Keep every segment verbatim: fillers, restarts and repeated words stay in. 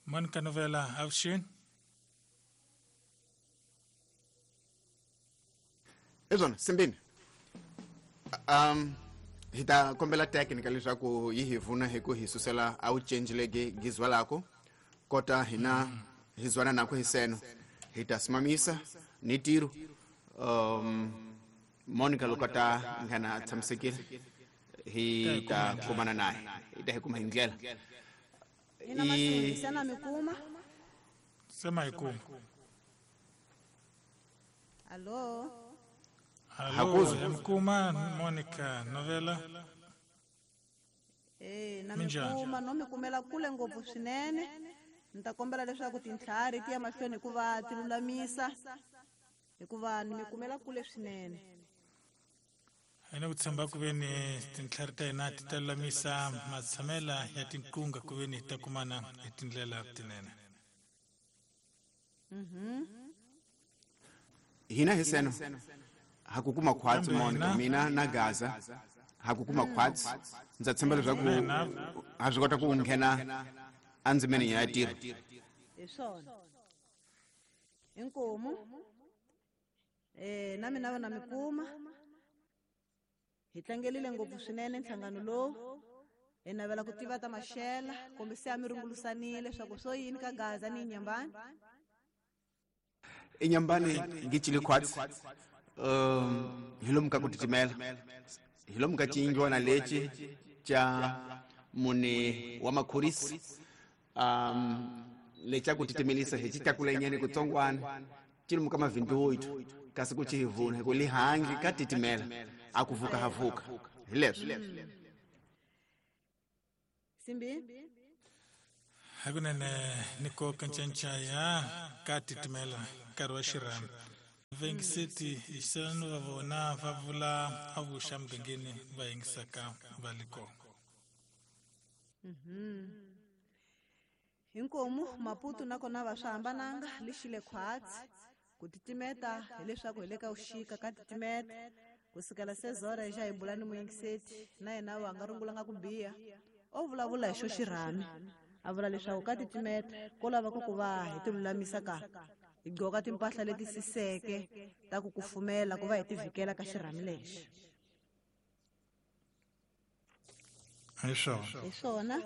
Monica Novela avuxeni. Ezona simbini um hi ta kombela technical leswaku yi hi vuna hi ku hi susela a wu change legi gizwalako kota hina hi zwana nako hi seno hi ta simamisa ni tiro um Monica loko ta nghena a tshamisekile hi ta kumana naye hi ta hi kuma hi ndlela ina masingi sana mi kuma sema hi kuma. Allo. Allo, yamkuma Monica Novela. Eh, na mi kuma no mi kumela kule ngopfu swinene. Ni ta kombela leswaku tintlhari ti ya mahlweni hikuva ti lulamisa hikuva ni mi kumela kule swinene. Ene ku tshemba ku ve ni tintlhari ta hina ti ta lulamisa matshamela ya tinqunga ku ve ni ta kumana hi tindlela tinene. Mhm. Hina hi seno ha ku kuma khwatsi Monica mina na Gaza ha ku kuma khwatsi ndza tshemba leswaku ha swi kota ku nghena endzimeni ya tiro. Hi swona. Inkomu eh na mina va na mi kuma hi tlangelile ngopfu swinene nhlangano lowu hi navela ku tiva ta maxela kumbe se a mi rungulusanile swa ku swo yini ka Gaza ni Nyambani. Inyambani ngichile khwatsi um hi lomu ka ku titimela hi lomu ka ciyindlwana lexi xa mune wa makhorisi um lexa ku titimelisa hi xi tlakulenyana kutsongwana ci lomu ka mavhinduwithu kasi ku ci hi vuna hi ku lihangi ka titimela a ku vuka ha vuka hi leswo. Simbi hakunene ni koka ncanca ya ka titimela nkarhi wa xirhami vaingiseti hi xisano va vona va vula avuxa mugangeni va yingisaka va le kona. Mhm. Inkomu Maputo nakona va swi hambananga lexile khwatsi ku titimeta hileswaku hi le ka vuxika ka titimeta ku sukela sezora xa hi bula ni muyingiseti na yena wa nga rungulanga ku biha o vulavula hi xo xirhami a vula leswaku ka titimeta ko lava ku ku va hi ti lulamisa ka hi gqoka timpahla leti siseke ta ku kufumela ku va hi ti vhikela ka xirhami lexi. Hi swona. Hi swona.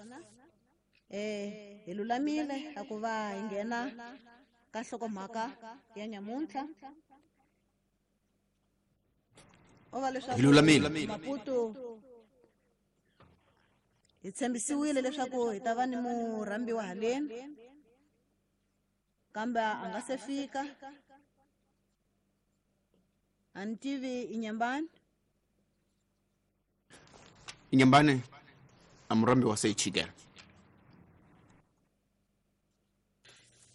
Eh, hi lulamile a ku va hi nghena ka nhlokomhaka ya nyamuntlha. O va leswaku Hi lulamile. Maputo hi tshembisiwile leswaku hi ta va ni murhambiwa haleni kambe a nga se fika. A ni tivi Inyambani. Inyambani a murhambiwa se chikela.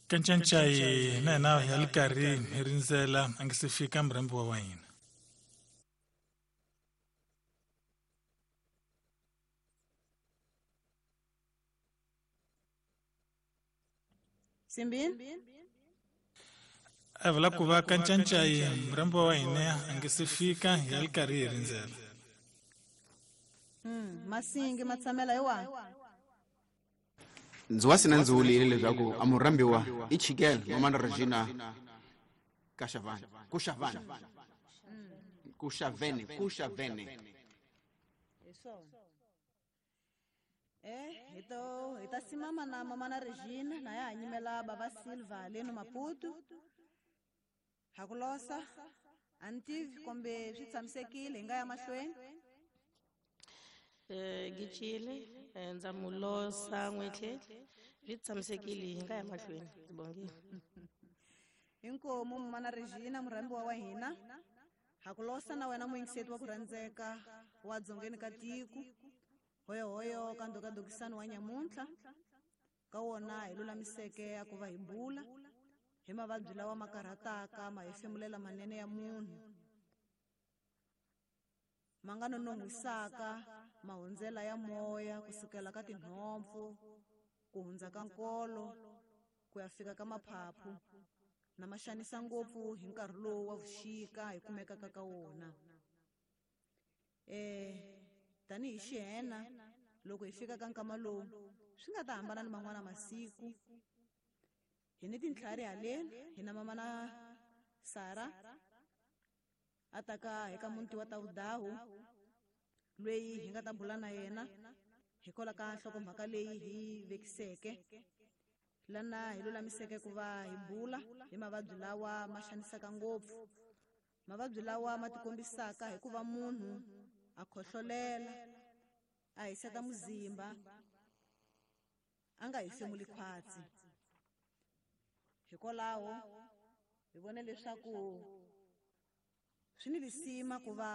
Kancancai na hina ya le karhi hi rindzela a nge se fika murhambiwa wa hina. Simbini a vula ku va kancancai murhambiwa wa hina a nge se fika ya le karhi hi rindzela. Mm, masingi matshamela hi wahi? Ndzi wa sina ndzi wulile leswaku a murhambiwa i chikela mamana Regina Kashavani Kushavani Kushavene Kushavene. Hi swona. Eh, hi to hi ta simama na mamana Regina na ya nyimela baba Silva haleni Maputo. Ha ku losa a ni tivi kumbe swi tshamisekile hi nga ya mahlweni. Eh gichile ndza mulosa n'wetlhe swi tshamisekile hi nga ya mahlweni ndzi bongile. Inkomu mamana Regina murhambiwa wa hina ha ku losa na wena muyingiseti wa ku rhandzeka wa dzongeni ka tiko hoyohoyo ka ndhokadokisano wa nyamuntlha ka wona hi lulamiseke a ku va hi bula hi mavabyi lawa ma karhataka ma hefemulela manene ya munhu ma nga nonon'hwisaka mahundzela ya moya kusukela ka tinhompfu ku hundza ka nkolo ku ya fika ka maphaphu na ma xanisa ngopfu hi nkarhi lowu wa vuxika hi kumekaka ka wona. Eh tanihi xihena loko hi fika ka nkama lowu swi nga ta hambana ni man'wana masiku Hi ni tintlhari haleni hi na mamana Sara a ta ka eka muti wa Tawudawu loyi hi nga ta bula na yena hikwalaho ka nhlokomhaka leyi hi vekiseke lana hi lulamiseke ku va hi bula hi mavabyi lawa ma xanisaka ngopfu, mavabyi lawa ma tikombisaka hi ku va munhu a khohlolela a hiseta muzimba a nga hefemuli khwatsi. Hikwalaho hi vone leswaku swi ni lisima ku va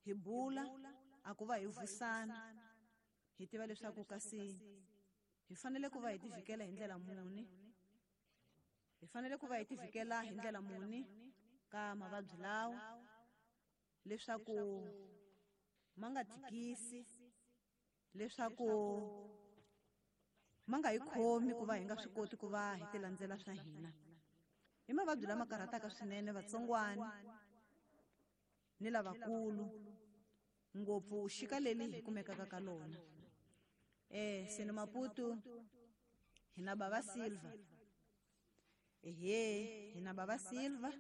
hi bula a ku va hi vusana hi tiva leswaku kasi hi fanele ku va hi tivikela hi ndlela muni, hi fanele ku va hi tivikela hi ndlela muni ka mavabyi lawa leswaku ma nga tikisi, leswaku ma nga hi khomi ku va hi nga swi koti ku va hi ti landzela swa hina. I mavabyi lama karhataka swinene vatsongwana ni lavakulu ngopfu xika leli hi kumekaka ka lona. Eh seno Maputo hi na Baba Silva, ehe hi na Baba Silva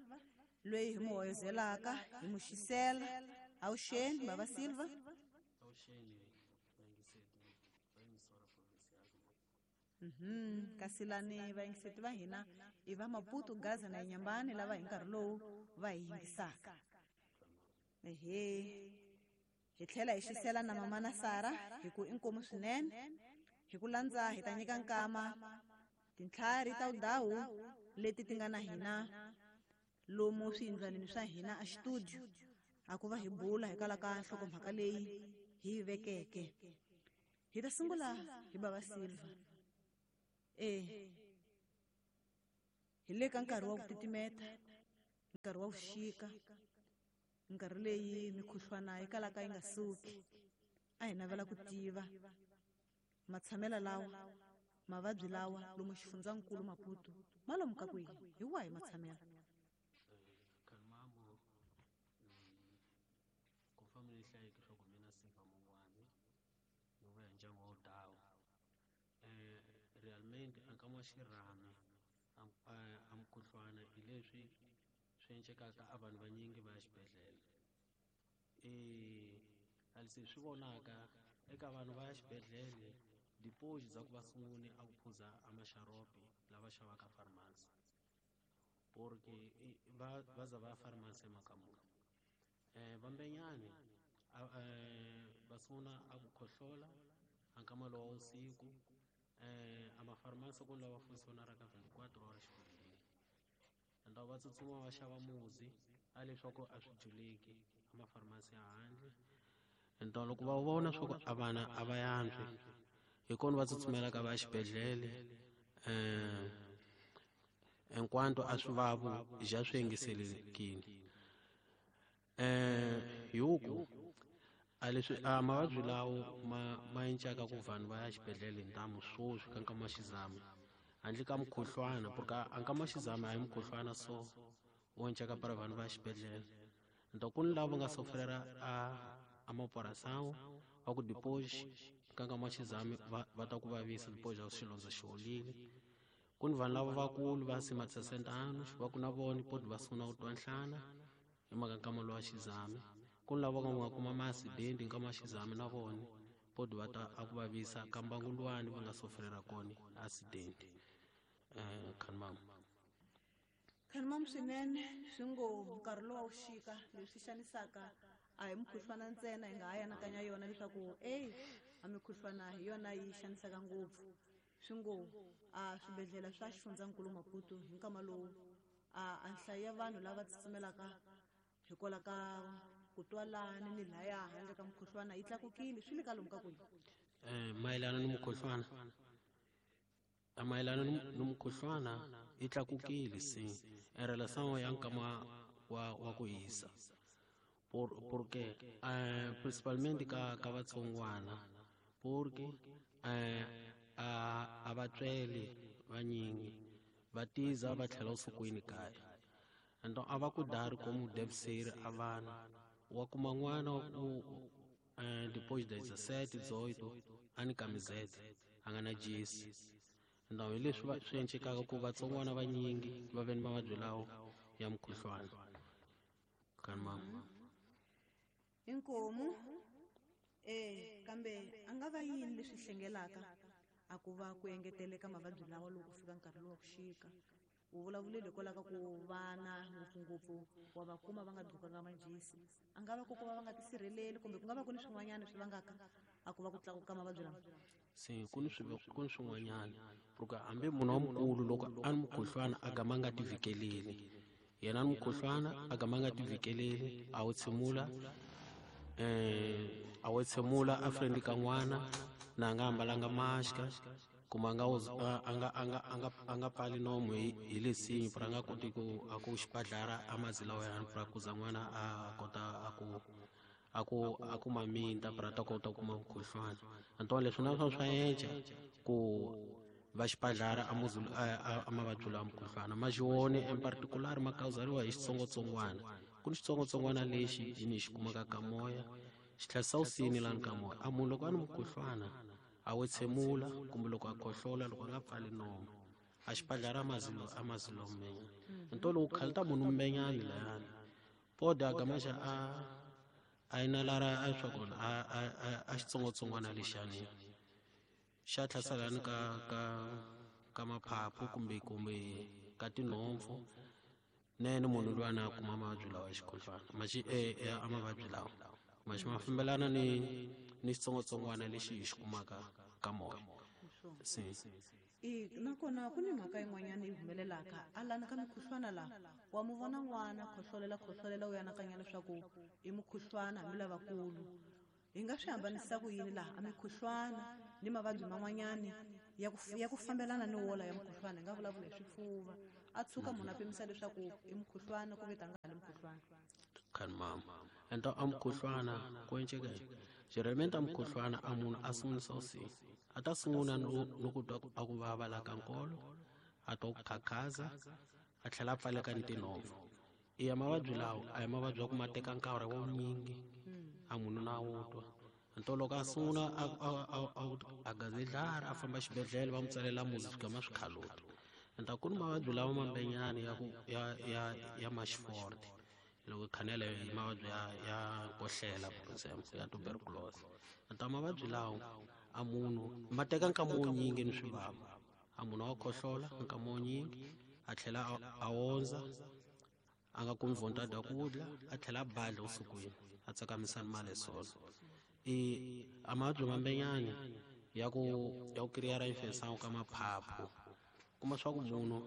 loyi hi mu hoyozelaka hi mu xisela. Awuxeni Baba Silva. Mhm kasi lani vayingiseti va hina i va Maputo, Gaza na Inhambane lava hi nkarhi lowu va hi yingisaka. Ehe hi tlhela hi xisela na mamana Sara hi ku inkomu swinene hi ku landza hi ta nyika nkama tintlhari ta Wudawu leti ti nga na hina lomu swiyindlwanini swa hina a xitudio a ku va hi bula hikwalaho ka nhlokomhaka leyi hi yi vekeke. Hi ta sungula hi Baba Silva. Eh hi le ka nkarhi wa ku titimeta, nkarhi wa vuxika, nkarhi leyi mikhuhlwana yi kalaka yi nga suki. A hi navela ku tiva matshamelo lawa mavabyi lawa lomu xifundzankulu Maputo ma lomu ka kwihi, hi wahi matshamelo? Kalmambo ku family hlayeke swa ku mina Silva Mungwani ni vuya ndyangu wa Wudawu. Eh realmente a nkama xirhami a mukhuhlwana hi leswi swi encekaka a vanhu vanyingi va ya xibedhlele. Eh a leswi swi vonaka eka vanhu va ya xibedhlele deposit za ku va sungule a ku phuza a maxaropi lava xavaka pharmacy porque va va za va ya pharmacy emakamuni. Eh vambenyani va sungula a ku khohlola a nkama lowa wusiku. Eh a mafarmasi ku lava functionaraka twenty-four hours xibedhlele enda va tsutsuma va xava muzi a leswaku a swi juleki a mafarmasi ya handle. Enda loko va vona swa ku a vana a va yantswi hi kona va tsutsumelaka va xibedhlele. Eh hinkwanto a swi vavu ja swi yingiselekile. Eh hi ku a leswi a mavabyi lawo ma ma encaka ku vanhu va ya xibedhlele hi ntamu swoswi ka nkama xizama handle ka mukhuhlwana porque a nkama xizama a hi mukhuhlwana so wo encaka para vanhu va ya xibedhlele. Nto ku ni lava nga sofrera a a mapurasawo va ku deposit ka nkama xizama va va ta ku vavisa deposit ya xilondza xi holile. Ku ni vanhu lava vakulu va sima sesenta anos va ku na vona poti va sungula ku twa nhlana hi mhaka nkama lowa xizama. Ku ni lava nga kuma ma-accident nkama xizama na vona poti va ta a ku vavisa ka mbangu luwani va nga sofrera kona accident. Eh khanmam khanmam swinene swi ngo nkarhi lowa wuxika leswi xanisaka a hi mukhuhlwana ntsena hi nga ha anakanya yona leswaku ey a mikhuhlwana hi yona yi xanisaka ngopfu. Swi ngo a swibedhlele swa xifundzankulu Maputo hi nkama lowu a a nhlayo ya vanhu lava tsutsumelaka hikwalaho ka ku twalani ni laya handle ka mukhuhlwana yi tlakukile swi le ka lomu ka kwihi? Eh mayelana ni mukhuhlwana a mayelana ni mukhuhlwana yi tlakukile se en relação ya nkama wa wa ku hisa por porque eh principalmente ka ka vatsongwana porque eh a a vatswele vanyingi va tiza va tlhela usukwini kaya. Endo a va ku dari como deve ser a vana wa kuma n'wana u eh depois das dezessete, dezoito ani camiseta a nga na jesi. Ndhawu hi leswi va swi encekaka ku vatsongwana vanyingi va ve ni mavabyi lawo ya mukhuhlwana kan mama. Inkomu eh kambe a nga va yini leswi hlengelaka a ku va ku engeteleka mavabyi lawa loko fika nkarhi lowu wa ku xika u vulavulile hikwalaho ka ku vana ngopfungopfu wa va kuma va nga gqokanga majesi a nga va ku ku va va nga tisirheleli kumbe ku nga va ku ni swin'wanyana swi vangaka a ku va ku tlakuka mavabyi lama se ku ni swi ku ni swin'wanyana porque hambi munhu wa mukulu loko a ni mukhuhlwana a gama a nga tivhikeleli yena ni mukhuhlwana a gama a nga tivhikeleli a wu tshimula eh a wu tshimula a friendly ka n'wana na a nga ambalanga mask kuma nga a nga a nga a nga a nga pfali nomu hi hi lesinyi pra nga koti ku a ku xibadlara a mazila wa yena pra kuza n'wana a kota a ku a ku a ku maminta pra ta kota ku kuma mukhuhlwana antoine leswi na swona swa enca ku va xibadlara a muzulu a mavabyi lawa mukhuhlwana ma xiwone in particular ma kawuzariwa hi xitsongwatsongwana ku ni xitsongwatsongwana lexi hi ni xi kumaka ka moya xi tlhela usini lani ka moya a munhu loko a ni mukhuhlwana a wu tshemula kumbe loko a khohlola loko a nga pfali nomu a xibadlara mazilo a mazilo mmenya nto lowu khalita munhu mmenyani layani pode a gama xa a a inalara a swa kona a a a xitsongwatsongwana lexiyani xa tlhaselani ka ka ka maphaphu kumbe kumbe ka tinhompfu nene munhu loyi a na kuma mavabyi lawa ya xikhuhlwana maxi eh a mavabyi lawa maxi ma fambelana ni ni xitsongwatsongwana lexi hi xi kumaka ka moya se i nakona ku ni mhaka yin'wanyana yi humelelaka a lana ka mukhuhlwana laha wa mu vona n'wana khohlolela khohlolela u anakanya leswaku i mukhuhlwana hambi lavakulu hi nga swi hambanisa ku yini laha a mikhuhlwana ni mavabyi man'wanyani ya ku ya ku fambelana ni wola ya mukhuhlwana hi nga vulavula hi swifuva a tshuka munhu a pimisa leswaku i mukhuhlwana ku ve tanga ni mukhuhlwana kan mama ento a mukhuhlwana ku enceka generalmente a mukhuhlwana a munhu a sungulisa usi a ta sungula no no ku twa a ku vava la ka nkolo a twa ku khakhaza a tlhela a pfaleka ni tinhompfu iya mavabyi lawa a hi mavabyi ya ku ma teka nkarhi wo nyingi a munhu na wu twa nto loko a sungula a a a a gazedlara a famba xibedhlele va n'wi tsalela muzi swi gama swi khaluta enta ku ni mavabyi lawa mambenyani ya ku ya ya ya maxiforte loko khanela hi mavabyi ya ya kohlela for example ya tuberculosis enta mavabyi lawa a munhu ma teka nkama wo nyingi ni swivava a munhu wa khohlola nkama wo nyingi a tlhela a ondza a nga kumi vontadi ya ku dya a tlhela a badla usukwini a tsakamisa ni mali solo i a mavabyi mambenyani ya ku ya ku kiriyara infection ka maphaphu kuma swa ku munhu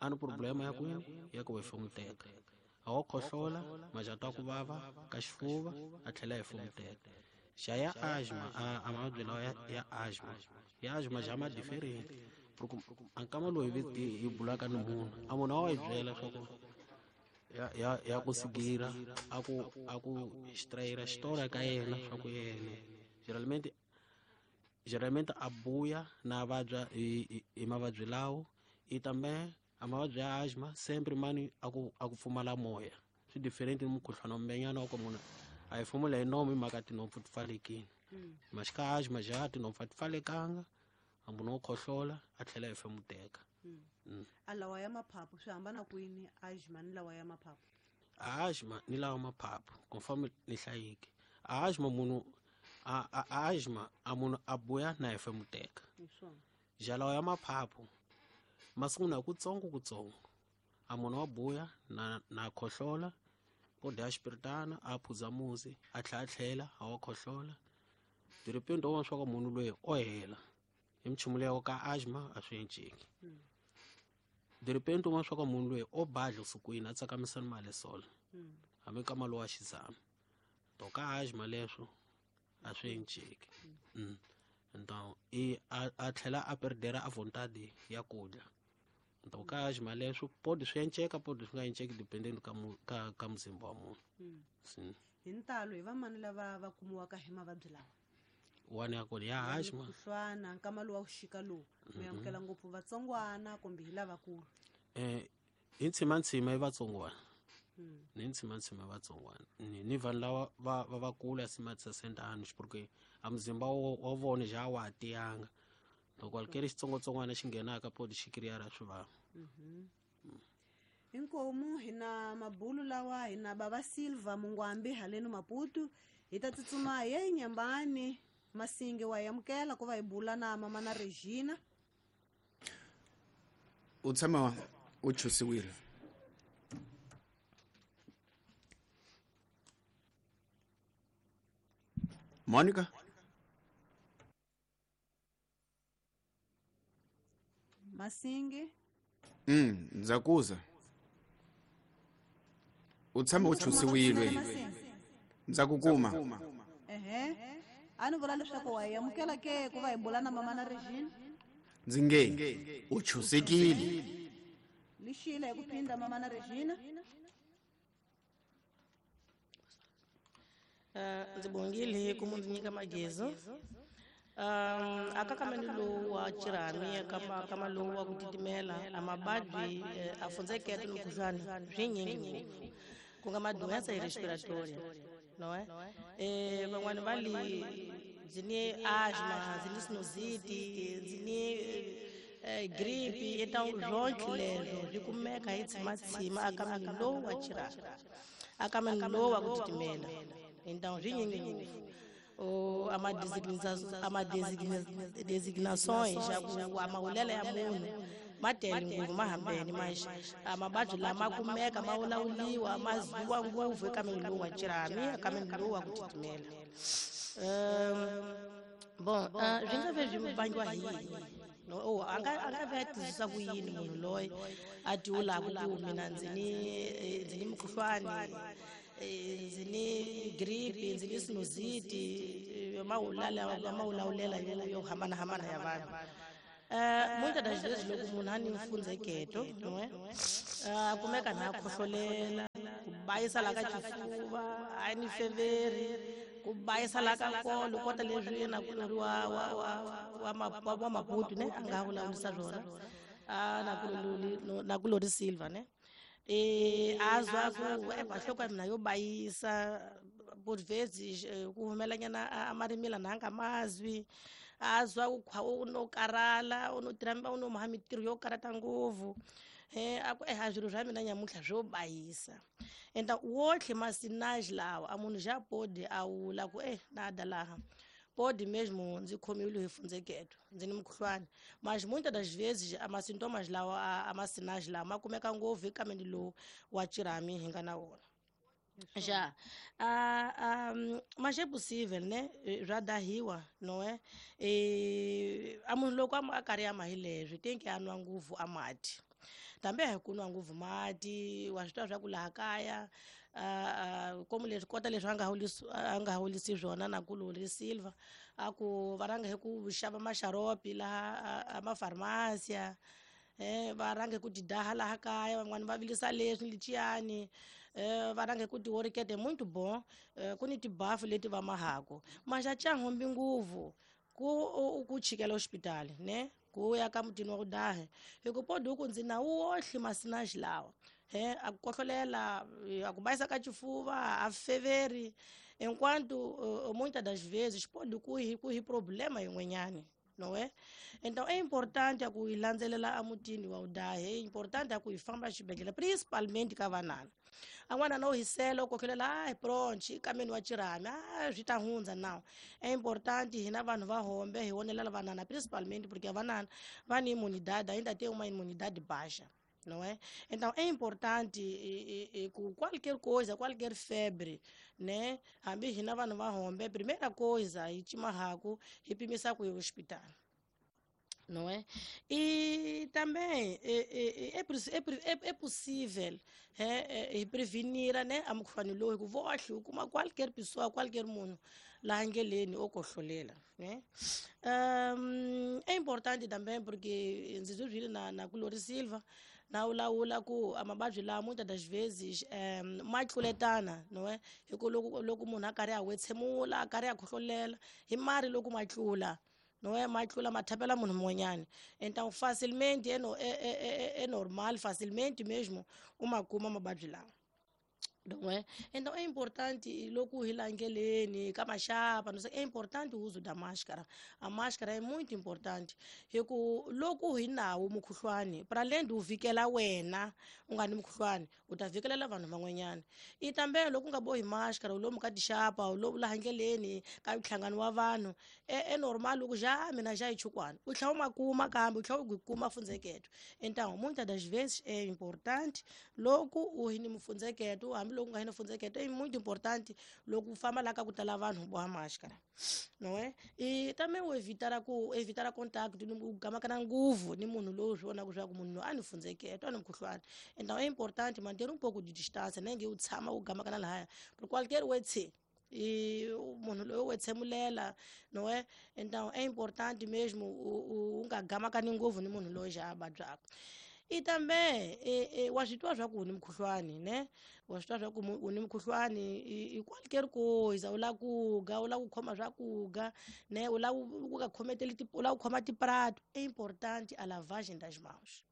a ni problema ya kwini ya ku hefemuteka a wa khohlola majata ya ku vava ka xifuva a tlhela a hefemuteka xa ya asthma a mavabyi lawa ya ya asthma ya asthma xa ma different a nkama lowu hi hi bulaka ni munhu a munhu a wa hi byela swa ku ya ya ya ku sigira a ku a ku xitrayira xitora ka yena swa ku yena generalmente generalmente a buya na vabya hi hi mavabyi lawo i tambe a mavabyi ya asthma sempre mani a ku a ku pfumala moya swi different ni mukhuhlwana wa mbenyana wa ku munhu a hi fumula hi nomu hi mhaka tinhompfu ti pfalekile maxika asthma ja tinhompfu a ti pfalekanga a munhu wo khohlola a tlhela a hefemuteka. A lawa ya maphaphu swi hambana kwini asthma ni lawa ya maphaphu asthma ni lawa maphaphu confirm ni hlayiki asthma munhu a a asthma a munhu a buya na hefemuteka ja lawa ya maphaphu ma sungula kutsongo kutsongo a munhu wa buya na na khohlola po dya xipiritana a phuza muzi a tlhela a tlhela a wa khohlola diripendo wa swa ku munhu loyi o hela hi minchumu leyi ka asthma a swi enceki diripendo wa swa ku munhu loyi o badla usukwini a tsakamisa ni mali solo hambi ka mali wa xizama to ka asthma leswo a swi enceki então i a tlhela a perdera a vontade ya ku dya nto ka asthma leswo podi swi enceka podi swi nga enceki dependent ka ka ka muzimba wa munhu hi ntalo hi vamani lava va kumiwaka hi mavabyi lawa wani ya kona ya asthma mukhuhlwana nkama lowu wa ku xika lowu mi amukela ngopfu vatsongwana kumbe hi lavakulu eh hi ntshimantsima i vatsongwana ni ntshimantsima i vatsongwana ni ni vanhu lava va va vakulu ya simatisa sentani porque a muzimba wa vona ja wa tiyanga Loko qualquer xitsongwatsongwana xi nghenaka podi xi creara swivava. Inkomu hina mabulu lawa hina baba Silva Mungwambi haleno Maputo hi ta tsutsuma hi ya eNyambani Masinge wa yamukela ku va hi bula na mama na Regina. U tshama u chusiwile. Monica Masinge. Mm, ndzakuza. U tshama u chusiwile. Ndzakukuma. Ehe. A ni vula leswaku wa yamukela ke ku va hi bula na mama na Regina. Ndzi nge u chusekile. Lixile hi ku phinda mama na Regina. Eh ndzi bongile ku munhu nyika magezo. Um akakameni lowu wa chirami kama kama lowu wa ku titimela a mabadi a fundzekete ni mukhuhlwani swi nyingi ngopfu ku nga madoença respiratória não é? Eh van'wani va li ndzi ni asma, ndzi ni sinusite, ndzi ni gripe, então zonke lezo swi kumeka hi tshimatsima akameni lowu wa chirami akameni lowu wa ku titimela então swi nyingi ngopfu. O ama ama designações já ku amawulela ya munhu ma tele ngopfu ma hambene mas amabadyi lama kumeka ma wulawuliwa ma ziwa ngopfu eka miri lowu wa chirami eka miri lowu wa ku titimela. Um bon swi nga ve swi vangiwa hi yini? No, oh, a nga a nga ve a twisisa ku yini munhu loyi a tiwulaka ku mina ndzi ni ndzi ni mukhuhlwani, ndzi ni gripe, ndzi ni sinusite, ma mawulawulela yo yo hambanahambana ya vanhu. Eh muitas das vezes loko munhu a ni mfundzeketo não é? A kumeka na khohlolela, ku bayisa la ka xifuva, a ni feveri, ku bayisa la ka nkolo, kota leswi yena ku ri wa wa wa wa wa Maputo ne a nga vulavurisa swona a na ku na ku Lori Silva ne. Eh azwa ku e nhloko ya mina yo bayisa por vezes ku humelanyana a marimila na nga mazwi azwa ku khwa u no karala u no tirhamba u no maha mitirho yo karata ngopfu eh a ku eh a swilo swa mina nyamutlha swo bayisa enta wotlhe masinage lawa a munhu ja podi a wula ku eh na da laha pode mesmo ndzi khomiwile hi fundzeketo ndzi ni mukhuhlwani mas muitas das vezes ama sintomas lawa ama sinage lawa ma kumeka ngopfu eka miri lowu wa chirami hi nga na wona. Já ah, um, mas é possível, né? Já da riwa, não é? E a munhu loko a karhi a mahi leswi tenke a nwa ngopfu a mati tambe hi ku nwa ngopfu mati wa swi twa swa ku laha kaya como leswi kota leswi a nga hawulisi a nga hawulisi swona na ku Lori Silva a ku va rhanga hi ku xava maxaropi laha a mafarmasia eh va rhanga ku tidaha laha kaya van'wani va vilisa leswi liciyani eh va rhanga ku tiworikete muito bom ku ni tibafu leti va mahako mas a cha hombi nguvu ku ku chikela hospitali ne ku ya ka mutini wa ku dahe hi ku podi ku ndzi na wohle masinage lawa he a ku kohlolela a ku bayisa ka xifuva a feveri enquanto muitas das vezes pode ku hi ku hi problema yin'wanyani não é? Então é importante a ku hi landzelela emutini wa udahe, é importante a ku hi famba xibedhlele principalmente ka vanana. A n'wana no hisela u kohlolela ai pronto ikameni wa chirami ah swi ta hundza now. É importante hina vanhu va hombe hi vonelela vanana principalmente porque vanana va ni imunidade ainda tem uma imunidade baixa. Não é? Então é importante e, e, e, com qualquer coisa, qualquer febre, né? Hambi hina vanhu va hombe, primeira coisa hi chimahaku hi pimisa ku hospital. Não é? E também é, é, é, é, é possível é, é, prevenir, né? A mukhuhlwani lowu hi ku vohle u kuma qualquer pessoa, qualquer munhu laha ndleleni o kohlolela, né? Um, é importante também porque ndzi byi na na ku Lori Silva na wulawula ku amabadyi lawa muitas das vezes um, ma tluletana, não é? Hi ku loko loko munhu a karhi a wetshemula a karhi a khohlolela hi mari loko ma tlula, não é? Ma tlula ma thapela munhu mun'wanyana então facilmente é, no, é, é, é normal facilmente mesmo uma kuma mabadyi lawa. Não é? Então é importante, logo hi langeleni, ka maxapa, não sei, é importante o uso da máscara. A máscara é muito importante. Hiku loko hi nawo mukhuhlwani, para além do vikela wena, u nga ni mukhuhlwani, u ta vikelela vanhu van'wanyana. I também loko u nga bohi máscara, u lomu ka tixapa, u lomu laha ndleleni, ka nhlangano wa vanhu, é, é normal loko ja mina ja hi chukwana. U tlhela u ma kuma kambe, u tlhela u kuma fundzeketo. Então, muitas das vezes é importante loko u hi ni mufundzeketo, hambi loko u nga hi ni mufundzeketo, é muito importante loko u famba laha ka ku tala vanhu u boha máscara. Não é? E também o evitar ku evitar contato ni u gamakana nguvu ni munhu lowu swi vonaka swa ku munhu loyi a ni fundzeketo, a ni mukhuhlwani. Então é importante manter um pouco de distância, nem que u tshama u gamakana lahaya. Por qualquer wetse e munhu loyi u tsemulela, não é? Então é importante mesmo u nga gamakani ngopfu ni munhu loyi xa a vabyaka. E também e, e, wa swi twa swa ku u ni mukhuhlwani, né? Wa swi twa swa ku u ni mukhuhlwani i qualquer coisa, u lava ku ga, u lava ku khoma swa ku ga, né? U lava ku nga khometeli u lava ku khoma tiprato. É importante a lavagem das mãos.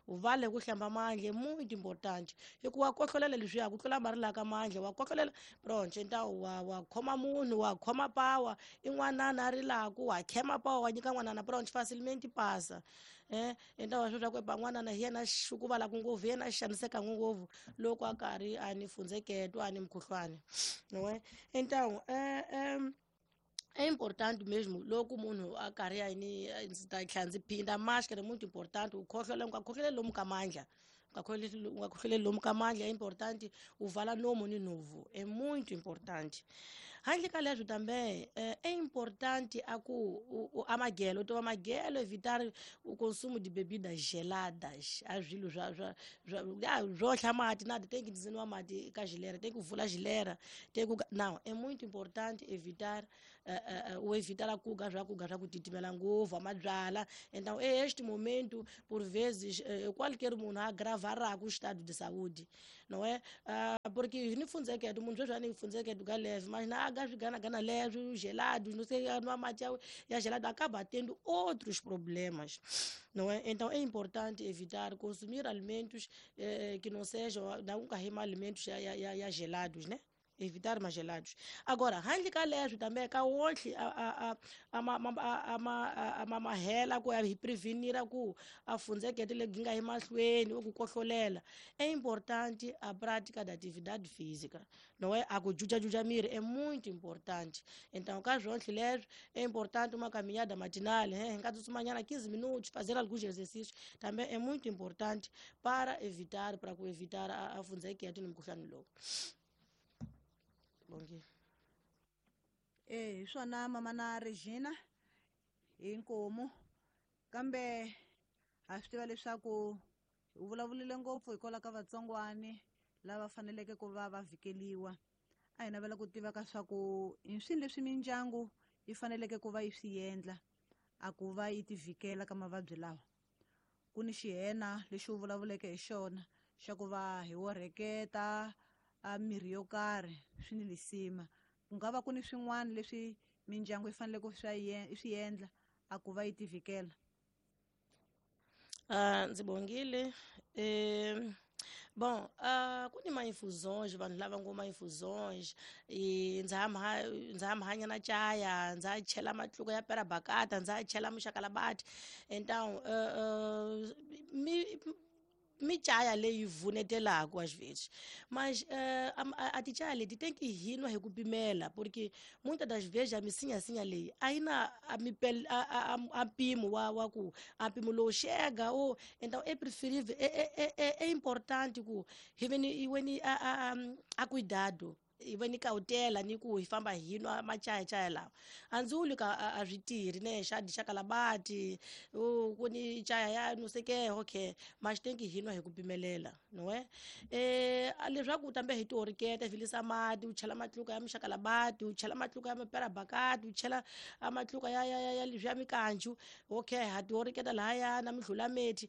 U vale ku hlamba mandla é muito importante. Hikuva wa kohlolela leswiya ku tlula mari la ka mandla, wa kohlolela pronto, então wa wa khoma munhu, wa khoma pawa, i n'wanana a rilaku, wa khema pawa, wa nyika n'wanana pronto, facilmente passa. Eh, então wa swi twa ku ba n'wanana hi yena xukuvalaka ngopfu, hi yena a xaniseka ngopfu loko a karhi a ni fundzeketo, a ni mukhuhlwani. Não é? Então, é, é É importante mesmo, loko munhu a karhi a ni ndzi ta tlhela ndzi phinda máscara é muito importante, u khohlola u nga khohloleli lomu ka mandla, u nga khohloleli u nga khohloleli lomu ka mandla, é importante u vala nomu ni nhovu, é muito importante. Handle ka leswo também é importante a ku a magelo, to magelo evitar o consumo de bebidas geladas, a swilo swa swa swo hla mati na tem que dizer mati ka geleira, tem que vula geleira, tem que não, é muito importante evitar uh, uh, o evitar a kuga swa kuga swa ku titimela ngopfu a mabyala. Então é este momento, por vezes, uh, qualquer munhu agravará o estado de saúde, não é? Uh, porque ni fundzeketo munhu sweswi a ni fundzeketo ka leve, mas na gana gana leve, gelados, não sei, não mate ya gelado acaba tendo outros problemas, não é? Então é importante evitar consumir alimentos eh, que não sejam, não carregar alimentos ya, ya, ya gelados, né? Evitar mais gelados. Agora, handle ka leswo também ka wonhle a a a a a a mahela ku ya hi prevenir ku a fundzekete legi nga hi mahlweni ku kohlolela. É importante a prática da atividade física, não é? A ku juja-juja miri é muito importante. Então, ka swonhle leswo é importante uma caminhada matinal, hein? Nga tsutsumanyana quinze minutos, fazer alguns exercícios também é muito importante para evitar, para ku evitar a, a fundzekete ni mukhuhlwani lowu. Bom dia. Eh, swona mama na Regina inkomu kambe a swi tiva leswaku u vulavurile ngopfu hikwalaho ka vatsongwani lava faneleke ku va va vhikeliwa. A hi navela ku tiva ka swa ku i swilo leswi mindyangu yi faneleke ku va yi swi endla a ku va yi ti vhikela ka mavabyi lawa. Ku ni xihena lexi u vulavuleke hi xona xa ku va hi wo rheketa a mirhi yo karhi swi ni lisima. Ku nga va ku ni swin'wana leswi mindyangu yi faneleke ku swi endla a ku va yi ti vhikela. Ah, ndzi bongile. Eh, bom, uh, ku ni ma-infusões, vanhu lava ngo ma-infusões, e ndza ha ndza hanya na chaya, ndza chela matluka ya perabakata, ndza chela muxakalabati. Então, uh, uh, mi michaya leyi vunetelaka às vezes, mas uh, a, a tichaya leti tem que rir no recupimela, porque muitas das vezes a misinha-sinha leyi a yi na a mipel a, a, a mpimo wa wa ku a mpimo lowu xega o. Então é preferível, é, é, é, é importante ku hi ve ni hi ve ni a, a, a cuidado, hi ve ni cautela ni ku hi famba hi nwa machayachaya lawa. A ndzi vuli ka a swi tirhi ne xa dixakalabati ku ni chaya ya no sei que, okay, mas tem que hi nwa hi ku pimelela, não é? Eh, leswaku tambe hi tioriketa hi vilisa mati, u chela matluka ya muxakalabati, u chela matluka ya maperabakati, u chela matluka ya ya ya ya leswiya mikanju, okay, ha tioriketa lahaya na mihlula meti.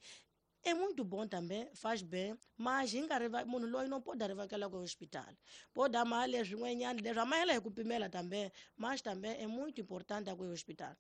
É muito bom também, faz bem, mas hi nga riva munhu loyi no pode rivakela ku hospital. Pode amar leswin'wanyana leswi amahela hi ku pimela também, mas também é muito importante ku hospital.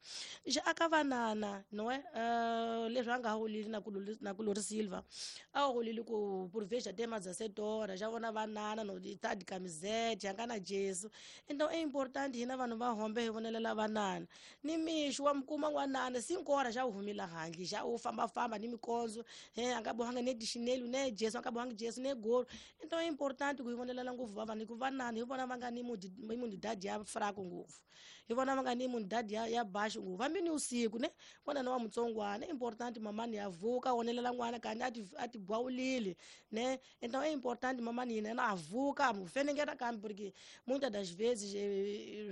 Já aka vanana, não é? Uh, leswi a nga holile na ku na ku Lori Silva. A holile ku por veja até mais dezessete horas, já vona vanana no tá de camiseta, já na Jesu. Então é importante hina vanhu va hombe hi vonelela vanana. Ni mixo wa mukuma n'wanana cinco horas já u humila handle, já u famba famba ni mikonzo. Eh, akabohanga ne dichinelo ne Jesu akabohanga Jesu ne golo. Então é importante ku vonelela ngopfu va vanhu ku vanana hi vona va nga ni imunidade ya fraco ngopfu. Hi vona va nga ni imunidade ya ya baixo ngopfu. Hambi ni usiku ne vona na wa mutsongwana é importante mamani ya vuka wonelela n'wana kani a ti a ti gwawulile né. Então é importante mamani yina na avuka mu fenengeta kambe porque muitas das vezes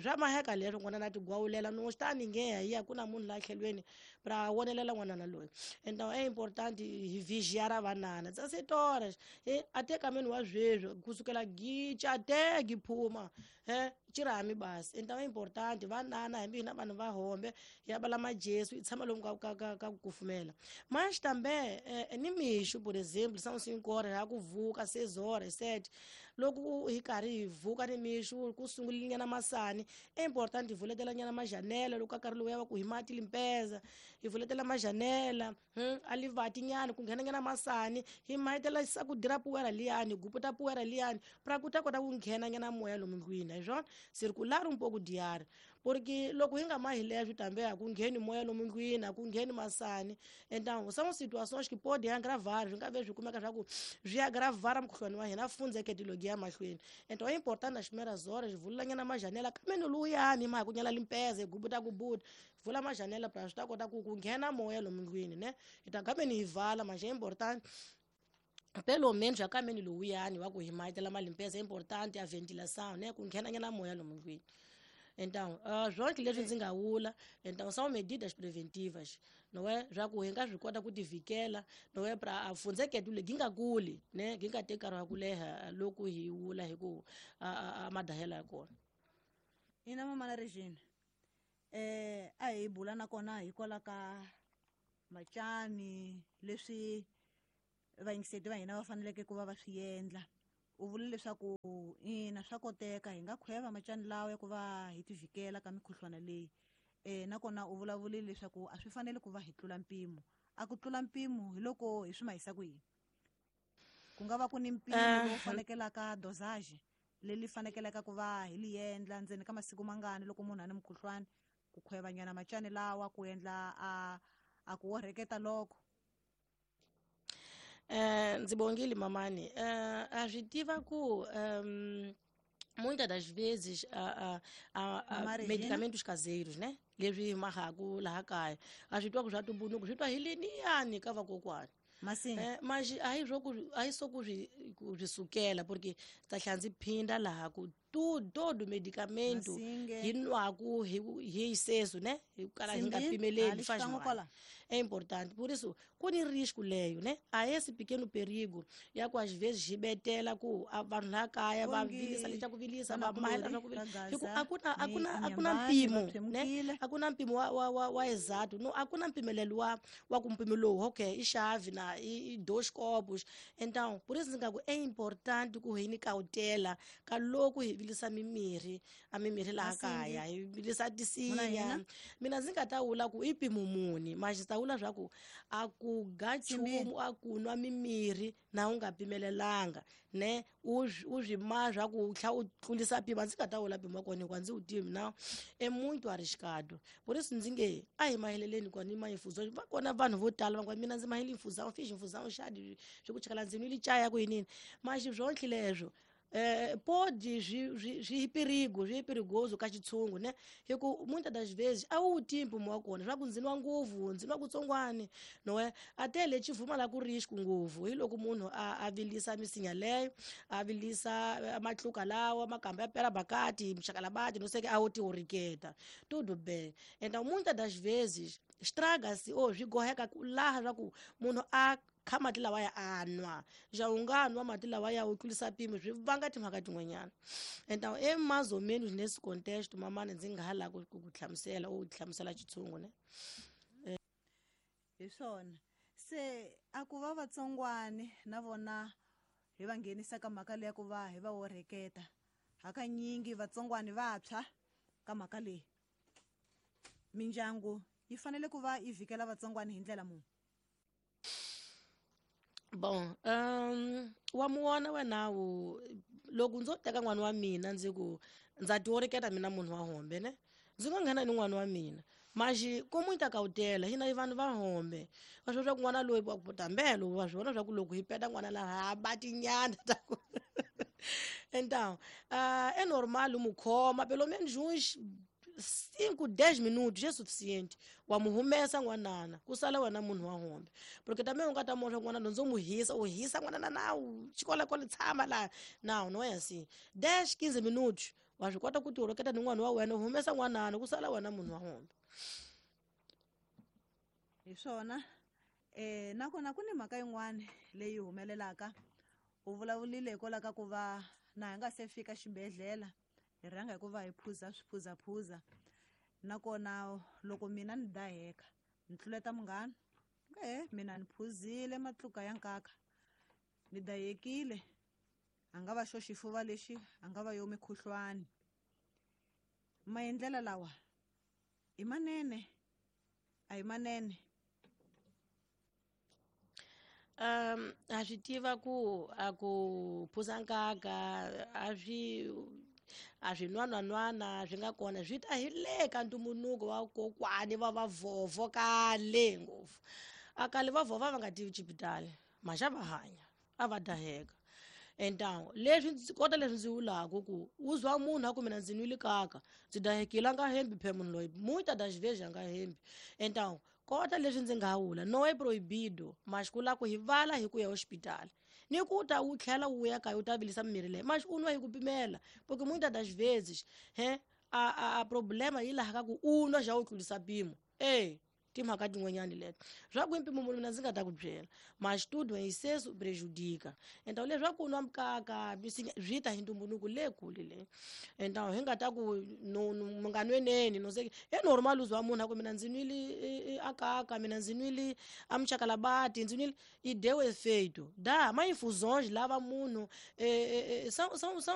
swa maheka leswo n'wana na ti gwawulela no está ninguém aí akuna munhu la tlhelweni pra wonelela n'wana loyi. Então é importante hi vigiar a vanana dezessete horas e até caminho wa sweswi kusukela gicha até giphuma eh chirami basi. Então é importante vanana hambi hina vanhu va hombe ya bala majesu i tshama lomu ka ka ka ku kufumela. Mas também eh, ni mixo por exemplo são cinco horas ya ku vuka seis horas sete loko hi karhi hi vuka ni mixo ku sungulile nyana masani é importante hi vuletela nyana majanela loko ka nkarhi lowu ya va ku hi mati limpeza hi vuletela majanela hmm, a livati nyana ku nghena nyana masani hi mahitela ku dira poeira liyani guputa poeira liyani pra ku ta kota ku nghena nyana moya lomu ndlwini hi swona circular um pouco de ar porque loko hi nga mahi leswi tambe a ku ngheni moya lomu ndlwini a ku ngheni masani. Então são situações que podem agravar swi nga ve swi kumeka swa ku swi agravar mukhuhlwani wa hina fundzeke tilogi ya mahlweni. Então é importante nas primeiras horas vula nyana majanela kambe luyani ma ku nyala limpeza gubuta gubuta vula majanela pra swi ta kota ku ku nghena moya lomu ndlwini ne hi ta kambe ni hi vala mas é importante pelo menos a kameni lowuyani wa ku hi mahitela malimpeza é importante a ventilação né ku nghena nyana moya lomu ndlwini. Então, uh, zonke leswi ndzi nga wula, então são medidas preventivas, não é? Já ku hi nga swi kota ku tivikela, não é? Pra a fundzeke le gi nga kuli, né? Gi nga teki nkarhi wa ku leha loko hi wula hi ku a, a madahela ya kona. Ina mama na Regina. Eh, a hi bula nakona hikwalaho ka macani leswi vayingiseti va hina va faneleke ku va va swi endla. U vule leswaku ina swa koteka hi nga khweva macani lawa ya ku va hi tivikela ka mikhuhlwana leyi. Eh nakona u vulavulile leswaku a swi fanele ku va hi tlula mpimo. A ku tlula mpimo hi loko hi swi mahisa ku yini? Ku nga va ku ni mpimo lowu fanekelaka dosage leli fanekelaka ku va hi li endla ndzeni ka masiku mangani loko munhu a ni mukhuhlwani ku khweva nyana macani lawa ku endla a a ku orheketa loko. Eh, ndzi bongile mamani. Eh, a swi tiva ku um, muitas das vezes a, a, a, a medicamentos caseiros, né? Leswi hi mahaku laha kaya a swi twa ku swa tumbunuku swi twa hi liniyani ka vakokwani. Masini. Eh, mas a hi swo ku a hi swo ku swi ku swi sukela porque ta tlhela ndzi phinda laha ku tudo todo medicamento hi nwaku hi hi excesso, né? Hi kala hi nga pimeleli faz mal. É importante, por isso, ku ni risco leyo, né? A esse pequeno perigo ya ku às vezes hi betela ku vanhu laha kaya va vilisa leta ku vilisa va mahela swa ku vilisa hi ku a ku na a ku na a ku na mpimo, né? A ku na mpimo wa wa wa, wa exato, no a ku na mpimelelo wa wa ku mpimo lowu, okay, i xavi na i dois copos. Então, por isso ndzi nga ku é importante ku hi ni cautela ka loko hi vilisa mimirhi a mimirhi laha kaya hi vilisa tisinya. Mina ndzi nga ta wula ku i mpimo muni, mas ta wula swa ku a ku ga nchumu a ku nwa mimirhi na u nga pimelelanga ne u u swi ma swa ku tlha u tlulisa mpimo. Ndzi nga ta wula mpimo wa kona hikuva ndzi wu tivi na é muito arriscado. Por isso ndzi nge a hi maheleleni kona ni ma-infusão va kona vanhu vo tala va ngo mina ndzi mahele infusão fiz infusão chá de swi ku chakala ndzi nwile chaya ku yinini mas swonhle leswo eh, pode swi swi perigo swi perigoso ka xitshungu né hi ku muitas das vezes a wu tivi mpimo wa kona swa ku ndzi nwa ngopfu ndzi nwa kutsongwani no é até le xi la ku risco ngopfu hi loko munhu a a vilisa misinya leyo a vilisa matluka lawa makamba ya pera bakati mxakalabati no sei que a wo ti oriketa tudo bem. Então muitas das vezes estraga-se ou swi goheka ku laha swa ku munhu a kha mati lawa ya a nwa ja u nga nwa mati lawa ya u tlulisa mpimo swi vanga timhaka tin'wanyana. Então é mais ou menos nesse contexto mamani ndzi nga ha lava ku ku hlamusela u hlamusela xitshungu ne. Hi swona Se a ku va vatsongwani na vona hi va nghenisa ka mhaka leyi ya ku va hi va orheketa. Hakanyingi vatsongwani va tshwa ka mhaka leyi. Mindyangu yi fanele ku va yi vikela vatsongwani hi ndlela muni? Bon, um wa muona wena wu loko ndzo teka n'wana wa mina ndzi ku ndza tiorheketa mina munhu wa hombe ne ndzi nga nghena ni n'wana wa mina maxi ko muita kautela hina i vanhu va hombe va swi swa ku n'wana loyi wa ku tambelo wa swi vona swa ku loko hi peta n'wana laha ba tinyana ta ku então uh, é normal u mu khoma pelo menos uns cinco, dez minutos é suficiente. Wa mu humesa n'wanana ku sala wena munhu wa hombe porque também u nga ta mosha n'wana ndzo mu hisa u hisa n'wanana na u xikolo tshama laha não não é assim dez, quinze minutos wa swi kota ku tiorheketa ni n'wana wa wena u humesa n'wanana ku sala wena munhu wa hombe. Hi swona eh nakona ku ni mhaka yin'wana leyi humelelaka u vulavulile hikwalaho ka ku va na hi nga se fika xibedhlele hi rhanga hi ku va hi phuza swiphuzaphuza nakona loko mina ni daheka ni tluleta munghana e mina ni phuzile matluka ya nkaka ni dahekile a nga va xo xifuva lexi a nga va yo mikhuhlwani. Maendlela lawa i manene a hi manene? Um a swi tiva ku a ku phuza nkaka a swi a swi nwananwana swi nga kona swi ta hi le ka ntumbuluko wa kokwani va vavhovho kale ngopfu a kale vavhovho va nga tivi xipitali maxa va hanya a va daheka. Então leswi ndzi kota leswi ndzi vulaka ku u zwa munhu a ku mina ndzi nwile kaka ndzi dahekile a nga hembi phe munhu loyi muita das vezes a nga hembi. Então kota leswi ndzi nga vula no é proibido mas ku lava ku hi vala hi ku ya hospitali ni ku ta u tlhela u ya kaya u ta vilisa mimirhi leyi mas u nwa hi ku pimela porque muitas das vezes he a a, a problema yi laha ka ku u nwa xa u tlulisa mpimo e timhaka tin'wanyani leto swa ku mpimo munhu mina ndzi nga ta ku byela mas tudo em excesso prejudica. Então leswaku u nwa mukaka swi ta hi ntumbuluko le kule le então hi nga ta ku no mi nga nweneni no se é normal uzwa munhu a ku mina ndzi nwile akaka mina ndzi nwile a muchakalabati ndzi nwile e deu efeito dá mas infusões lava munhu são são são